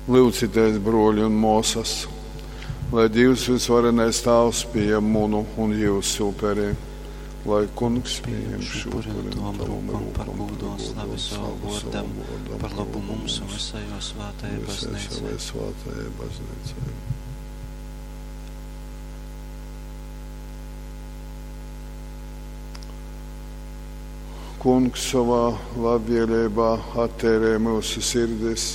Lyudzitēs, brōļi un mōsas, lai Dīvs vysvarenais Tāvs pījam munu un jyusu uperi. Lai Kungs Pījam pījam šū šū upuri upuri no no tavam tavam rūkom par rūkom, gūdu par un gūdu slavi un savam slavu vōrdam, savam vōrdam, par par lobu lobu mums un mums visai jo svētajai un visai baznīcai. savai svētajai baznīcai. Kungs sovā labvēlībā attērē mūsu sirdis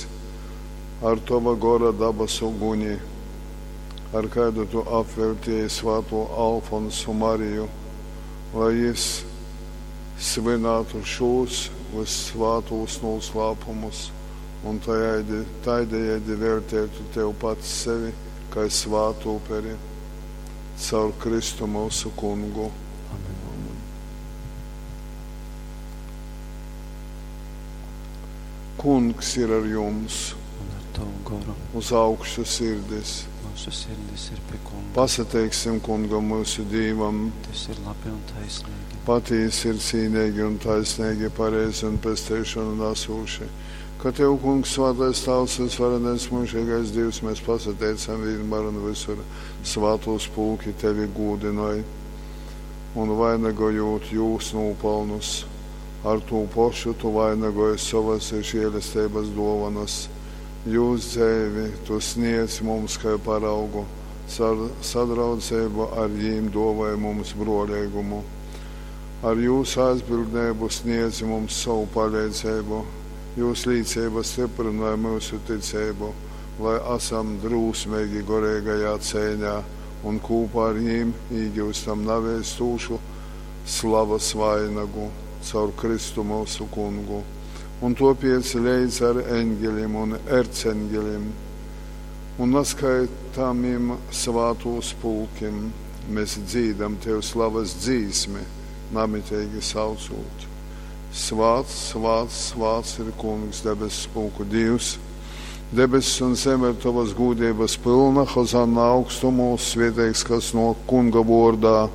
ar tova gora dabasu guni, ar kādu tu apveltīji svāto Alfonsu Mariju, lai jis svinātu šos vissvātos noslēpumus un tādējādi, tādējādi veltētu tev pats sevi kā svātu uperi caur Kristu mūsu kungu. Amen. Amen. Kungs ir ar jums, Un ar tavu goru uz augšu sirdis. mūsu sirdis ir pie Kunga. Pasateiksim kungam mūsu Dīvam, Tas ir labi un taisnīgi. patīsi ir cīnīgi un taisnīgi, pareizi un pestīšanu nesoši. Ka Tev, Kungs, svētais Tēvs, visvarenais mūžīgais Dievs, mēs pasateicam vienmēr un visur svētos pulki Tevi gūdinoj un vainagojot jūs nopelnus. Ar to pašu tu vainagoji savas žēlestības dovanas. Jūs dzēvi tu sniedz mums kā paraugu, caur sadraudzību ar jīm dāvāji mums brolīgumu. Ar jūsu aizbildnību sniedz mums savu palīdzību, jūsu līdzība stiprināja mūsu ticību, lai esam drūsmīgi gorīgajā cīņā un kopā ar jīm iegūstam nevēstūšu slavas vainagu caur Kristu mūsu kungu. Un topiec līdz ar eņģelim un erceņģelim un neskaitāmiem svātūs pulkim mēs dzīdam Tev slavas dzīsmi, namitīgi saucot. Svāts, svāts, svāts ir Kungs, debesu pulku Dievs. Debesis un zeme ir tavas gūdības pilna, Hozanna augstumos, svētīgs, kas no Kunga vārdā.